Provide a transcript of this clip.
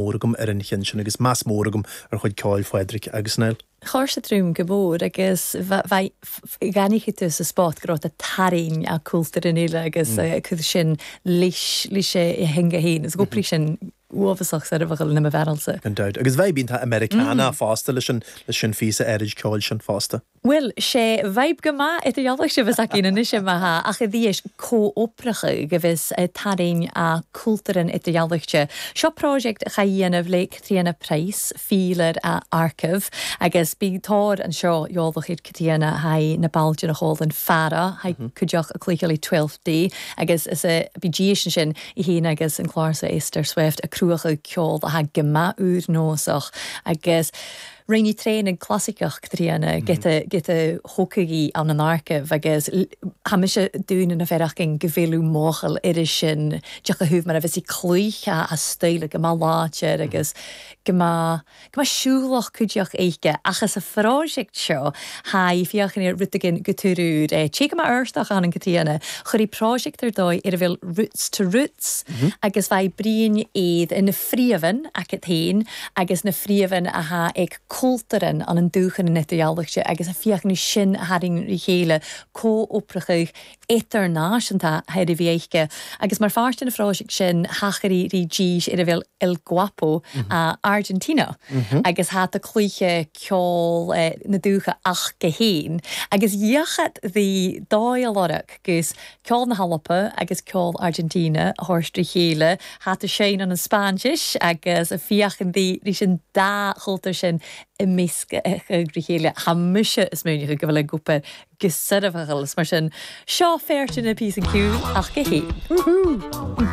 Mór agam ar an cheann sin agus meas mór agam ar chuid ceoil Phádraig agus Niall. Chuir sé tríom go mór agus bheannaigh tú sa spot go raibh tú tarraing a cultúr in uile agus cuid sin leis leis a theanga féin is go sin uafásach soirbheachal na mo bhearalsa. Gan dabht. Agus bheidh bíonn Americana fosta leis an leis an phíosa áirid ceoil sin fosta. Bhuel, sé vibe go maith i do ghealach sibh is againn anois i mbeatha ach i dhiaidh comhoibreacha go bhfios tarraing a cultúrlann i do ghealach. Seo project a dhéanamh le Caitríona Price, fílar a Archive, agus bí tóir anseo eolach ar Caitríona haghaidh na bailte na chomhlann feara haghaidh cuideach a cluicheolaí Twelfth Day agus is a bí díis ansin í féin agus an clársa Esther Swift a cruachadh ceol a go maith úr nósach agus Rinne traenáil clasaiceach Caitríona giota giota thógtha ann an Archive agus tha mise dúinn na fearachgain go bhféileadh máchail uirre sin deoch a thabh mar a bheas í cloích a staoladh go maith láidir agus go maith go maith siúlach cuideach éicce ach is a phroiseact seo tha í féachaint ar rud éigin go túrúr é té go maith Fheirsteach ann an Caitríona chuir í proiseact ar dóigh ar a bhfuil Roots to Roots agus bheidh Brian iad ina phríomhan acu féin agus na phríomhan athá ag cultúrlann an an dúchan in idirdhealaichte agus a féachann sin a tharraing rí chéile comhoibreacha idirnáisiúnta thar a bhí aici agus mar pháirt den phróiseact sin thachair rí dís ar a bhfuil El Guapo a Argentina agus thá ta cluiche ceol na dúiche ach go héin agus dheachat bhí dóigh a lorg gus ceol na hAlba agus ceol Argentina a thabhairt trí chéile, thá tú sein an an Spáinnis agus a féachann di leis an dá chultúr sin i meascadh rí chéile. Thá mise is múineadh go bhfuil ag obair go soirbheachal is mar sin seo feirte na píosa ceoil ach go héin. Woohoo!